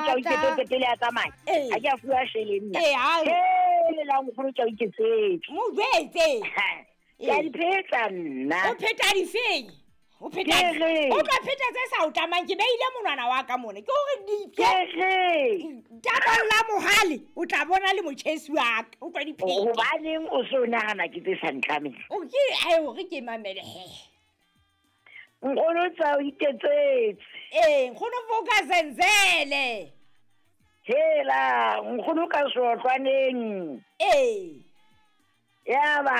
tsa o iketsetse pele a tsamaya. Ee. Ha ke a fuwa shele nna. Ee, ha- Hela nkgono tsa o iketsetse. Mo jwetse. Ke a di phetsa nna. O pheta difeng? O pheta Ke re. O tla pheta tse sa o tlamang ke beile monwana wa ka mona. Ke hore Ke dipe re. tabolla mohale o tla bona le motjhesi wa ka. O tla di pheta. Hobaneng o se o nahana ke tse sa ntlameng? O ke ai hore ke mamele he. Nkgono tsa o iketsetse. Ee, nkgono foka zenzele. Hela nkgono ka seotlwaneng. Ee. Yaba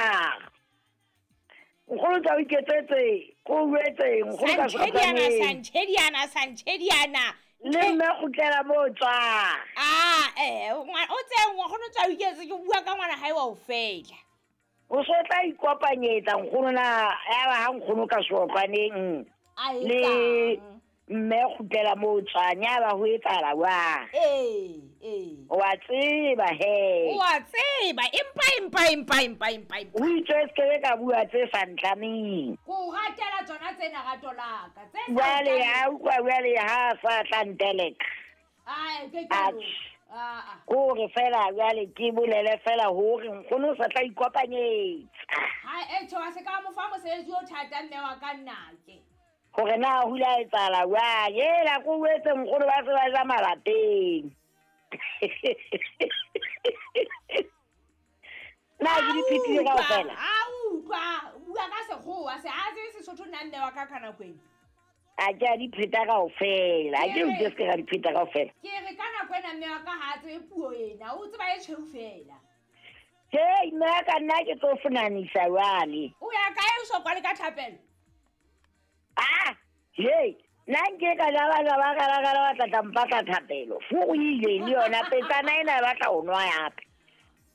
nkgono tsa o iketsetse ko jwetse nkgono ka Santjhediana seotlwaneng. santjhediana santjhediana. Le mme kgutlela mo o tswang. Ah, eh, o tse nkgono tsa o iketse ke bua ka ngwana hae wa o fela. O so tla ikopanyetsa nkgono na yaba ha nkgono ka seotlwaneng A le etsang? mme kgutlela mo o tswang yaba ho etsahala jwang? Ee, ee. Wa tseba he. O a tseba empa empa empa empa empa empa. O itswe se kebe ka bua tse sa ntlameng. Ko o ratela tsona tsena rato la ka. Tse sa Jwale o tlameng. ha utlwa jwale ha a sa tla nteleka. Ai, ke ke. Atjhe. Ah, ah. Kore fela jwale ke bolele fela hore nkgono o sa tla ikopanyetsa. Ha e tjho a se ka mo fa mosebetsi o thata mme wa ka nnake. Hore na ho ile ha etsahala jwang. Hela ko jwetse nkgono ba se ba ja malapeng. Na ke di phethile kaofela? A utlwa, o bua ka sekgowa se a tsebe Sesotho nna mme wa ka ka nako ena. A ke a di pheta kaofela. A ke utlwe se ka di pheta kaofela. Ke re ka nako ena mme wa ka ha a tsebe puo ena, o tseba e tshweu fela. Hei mme ka nna ke tlo fonanisa jwale. O ya kae o so kwale ka thapelo? Ah, hei, nna nke ka ja ba ja ba kala kala ba tla tla mpatla thapelo. Furu ile le yona petsana ena e batla ho nwa hape.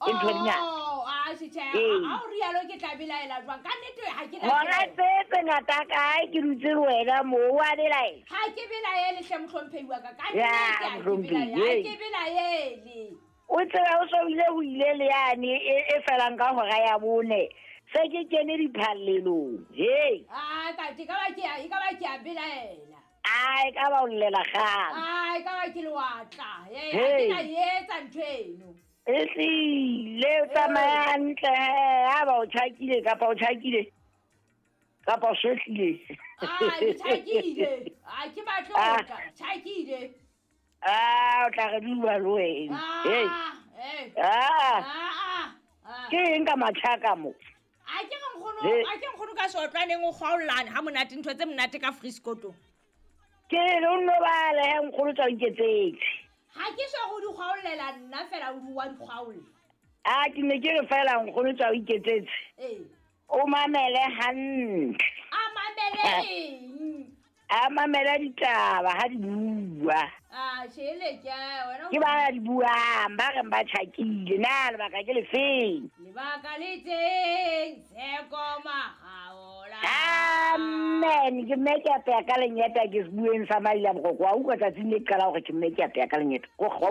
Ke ntho di ngata. Oh, ah, tjhe, Ee. ha o rialo ke tla belaela jwang? Ka nnete ha ke na Hora belaela. tse tse ngata kae ke dutse le wena moo wa belaela. Ha ke belaele hle mohlomphehi wa ka. Ka Ya, nnete ha ke mohlomphehi, belaele. Ha hey. ke belaele. O tseba o so ile ho ile le yane e e felang ka hora ya 4. Se ke kene diphallelong. Hei, Ah, ka ke ka ba ke a e ka ba ke a belaela. a e ka ba o llela kgang. Ah, e ka ba ke lewatla. Eh, ha Hey. ke na etsa ntho eno. Ehlile o tsamaya hantle he, ha ba o tjhakile kapa o tjhakile kapa o swehlile. Ah, ke tjhakile. Ah, ke batle ho Ah. tla. Tjhakile. Ah, o tla re dua le wena. Hei. Ah, eh. Ah, Ah, ah. ah. ke eng ka matjhaka mo? A ke re nkgono, Hey. a ke nkgono ka seotlwaneng o kgwaollane ha monate ntho tse monate ka Friskotong. Ke re o nno bale he nkgono tsa o iketsetse. Ha ke so go di kgwaollela nna fela o di wa di kgwaolla. Ah, ke ne ke re fela nkgono tsa o iketsetse. Ee. O mamele hantle. A mamele eng? A mamele ditaba ha di bua. Ah, tjhele ke wena. Ke ba di buang, ba reng ba tjhakile. Na lebaka ke lefeng? Lebaka le teng, Tsheko Makgaola. Amen. Ke mme ke apeya ka lenyeta ke se bueng sa maila boroko. Wa utlwa tsatsing le ke qala hore ke mme ke apeya ka lenyeta. Ko wa